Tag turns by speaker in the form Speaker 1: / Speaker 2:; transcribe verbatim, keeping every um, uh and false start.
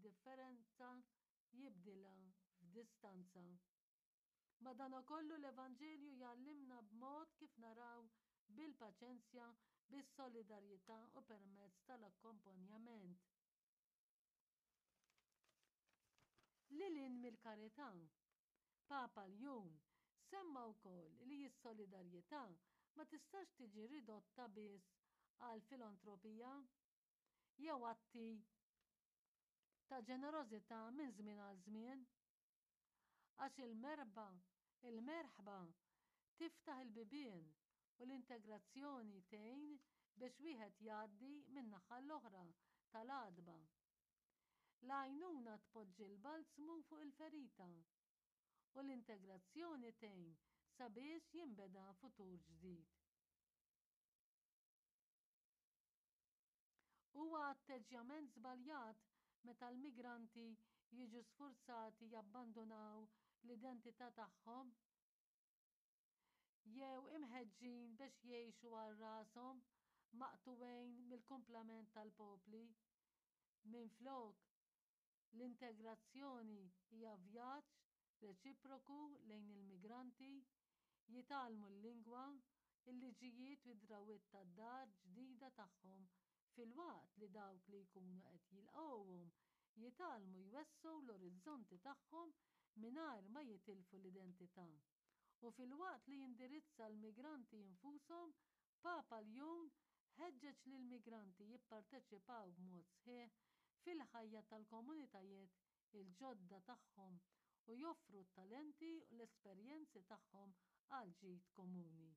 Speaker 1: id-differenza jibdilha f'distanza. Madankollu l-Evanġelju jgħallimna b'mod kif naraw bil-paċenzja, bis-solidarjetà u permezz tal-akkompanjament. Lil hinn mill-karità, Papa Ljun semma wkoll li s-solidarjetà ma tistax tiġi ridotta biss għal filantropija jew atti ta' ġenerożità minn żmien għal żmien. Għax il-merħba, il-merħba tiftaħ il-bibien u l-integrazzjoni tgħin biex wieħed jgħaddi min-naħa l-oħra tal-għatba. L-għajnuna tpoġġi l-balzmu fuq il-ferita u l-integrazzjoni tgħin sabiex jinbeda futur ġdid. Huwa atteġġjament żbaljat meta l-migranti jiġu sfurzati jabbandunaw l-identità tagħhom jew imħeġġin biex jgħixu għal rashom maqtugħin mill-kumplament tal-popli. Minflok, l-integrazzjoni hija vjaġġ reċiproku lejn il-migranti jitgħallmu l-lingwa, il-liġijiet u d-drawwiet tad-dar ġdida tagħhom filwaqt li dawk li jkunu qed jilqgħuhom jitgħallmu jwessgħu l-orizzonti tagħhom mingħajr ma jitilfu l-identità. U filwaqt li jindirizza l-migranti infushom, Papa Ljun ħeġġeġ lill-migranti jipparteċipaw b'mod sħiħ fil-ħajja tal-komunitajiet il-ġodda tagħhom u joffru t-talenti u l-esperjenzi tagħhom għall-ġid komuni.